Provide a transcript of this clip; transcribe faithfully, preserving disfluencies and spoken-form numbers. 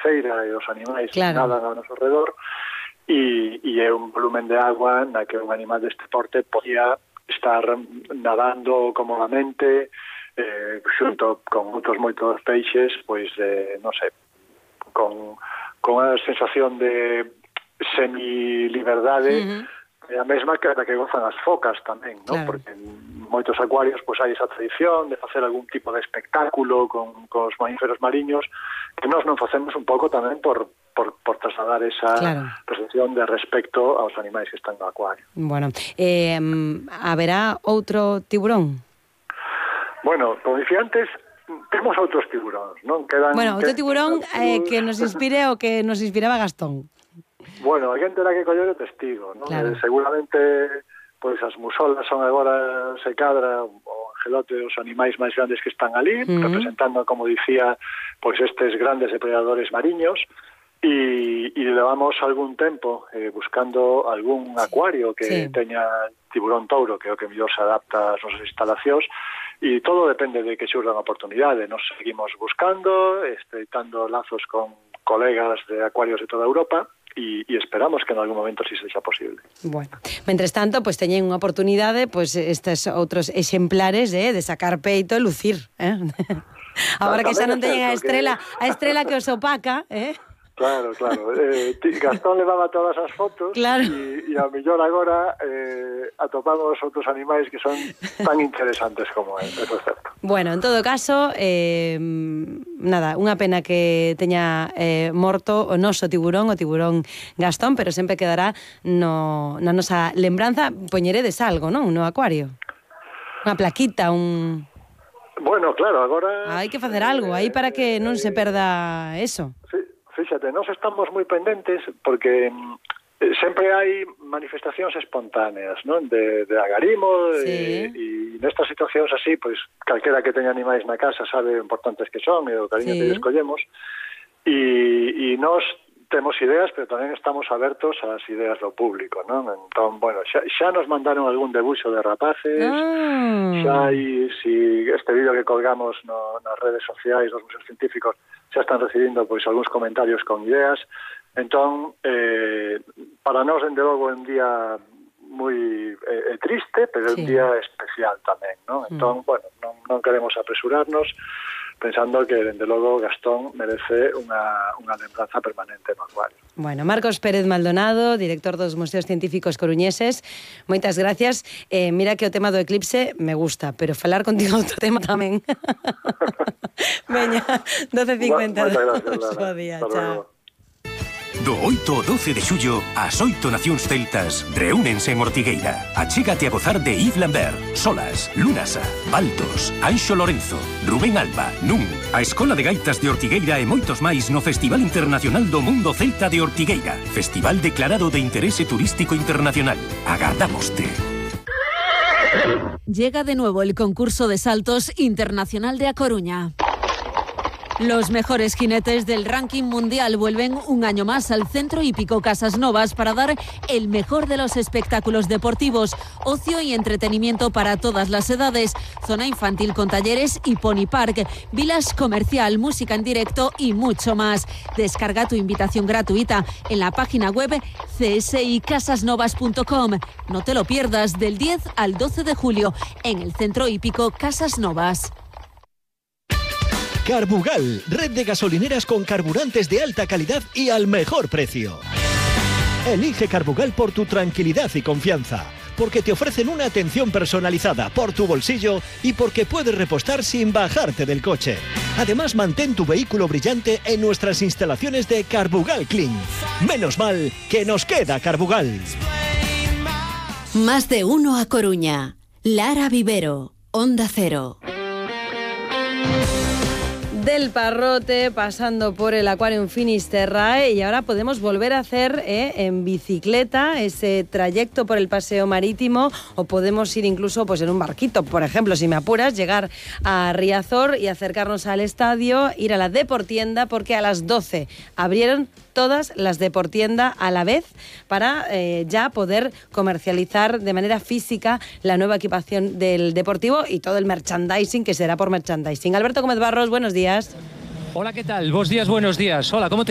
feira e os animais claro. nadan ao noso redor, e, e é un volumen de agua na que un animal deste porte podía estar nadando cómodamente, eh, xunto con outros moitos peixes, pois, eh, non sei, con, con a sensación de semi-liberdade, uh-huh. é a mesma que a que gozan as focas tamén, ¿no? Claro. Porque en moitos acuarios pois hai esa tradición de facer algún tipo de espectáculo con, con os mamíferos mariños que nós non facemos un pouco tamén por, por, por trasladar esa claro. percepción de respecto aos animais que están no acuario. Bueno, eh, haberá outro tiburón? Bueno, como dicía antes, temos outros tiburóns, non? Quedan, bueno, outro que, tiburón eh, que nos inspire o que nos inspiraba Gastón. Bueno, a gente terá que coller o testigo, non? Claro. Eh, seguramente, pois as musolas son agora se cadra o angelote os animais máis grandes que están ali, uh-huh. representando, como dicía, pois estes grandes depredadores mariños, e, e levamos algún tempo eh, buscando algún acuario que sí. teña tiburón touro, que é o que mellor se adapta ás nosas instalacións, e todo depende de que xurda unha oportunidade. Nos seguimos buscando, estreitando lazos con colegas de acuarios de toda Europa, e, e esperamos que en algún momento si sexa posible. Bueno, mentres tanto, pois pues, teñen unha oportunidade, pois pues, estes outros exemplares eh, de sacar peito e lucir, eh? Agora que xa non teñen a estrela, que... a estrela que os opaca, eh? Claro, claro. Eh, Gastón levaba todas as fotos claro. e, e ao mellor agora eh, atopamos outros animais que son tan interesantes como él, eso é certo. Bueno, en todo caso, eh, nada, unha pena que teña eh, morto o noso tiburón, o tiburón Gastón, pero sempre quedará no, na nosa lembranza. Poñeredes algo, non? No acuario. Unha plaquita, un... Bueno, claro, agora... Hai que facer algo aí para que non se perda eso. Sí. Fíxate, nós estamos moi pendentes porque eh, sempre hai manifestacións espontáneas, non? De, de agarimo, sí. e, e nestas situacións así, pois, calquera que teña animais na casa sabe o importantes que son e o cariño sí. que escollemos, e, e nós temos ideas, pero tamén estamos abertos ás ideas do público, non? Entón, bueno, xa, xa nos mandaron algún debuxo de rapaces, ah. xa hai, si este vídeo que colgamos no, nas redes sociais dos museos científicos xa están recibindo pois algúns comentarios con ideas. Entón, eh, para nós, dende logo, é un día moi eh, triste, pero é sí. un día especial tamén, non? Entón, mm. bueno, non, non queremos apresurarnos, pensando que, dende logo, Gastón merece unha, unha lembranza permanente no acuario. Bueno, Marcos Pérez Maldonado, director dos Museos Científicos Coruñeses, moitas gracias. Eh, mira que o tema do eclipse me gusta, pero falar contigo outro tema tamén. Veña, doce cincuenta e dos. Bo día, chao. Do oito ao doce de xullo, as oito nacións celtas reúnense en Ortigueira. Achégate a gozar de Yves Lambert, Solas, Lunasa, Baltos, Anxo Lorenzo, Rubén Alba, Nun, a Escola de Gaitas de Ortigueira e moitos máis no Festival Internacional do Mundo Celta de Ortigueira. Festival declarado de interese turístico internacional. Agardámoste. Llega de nuevo el concurso de saltos internacional de A Coruña. Los mejores jinetes del ranking mundial vuelven un año más al Centro Hípico Casas Novas para dar el mejor de los espectáculos deportivos, ocio y entretenimiento para todas las edades, zona infantil con talleres y pony park, village comercial, música en directo y mucho más. Descarga tu invitación gratuita en la página web c s i casas novas punto com. No te lo pierdas, del diez al doce de julio en el Centro Hípico Casas Novas. Carbugal, red de gasolineras con carburantes de alta calidad y al mejor precio. Elige Carbugal por tu tranquilidad y confianza, porque te ofrecen una atención personalizada por tu bolsillo y porque puedes repostar sin bajarte del coche. Además, mantén tu vehículo brillante en nuestras instalaciones de Carbugal Clean. Menos mal que nos queda Carbugal. Más de uno a Coruña. Lara Vivero, Onda Cero. Del Parrote, pasando por el Aquarium Finisterrae, y ahora podemos volver a hacer eh, en bicicleta ese trayecto por el paseo marítimo, o podemos ir incluso pues en un barquito, por ejemplo, si me apuras, llegar a Riazor y acercarnos al estadio, ir a la Deportienda, porque a las doce abrieron todas las Deportienda a la vez para eh, ya poder comercializar de manera física la nueva equipación del Deportivo y todo el merchandising, que será por merchandising. Alberto Gómez Barros, buenos días. Hola, ¿qué tal? Buenos días, buenos días. Hola, ¿cómo te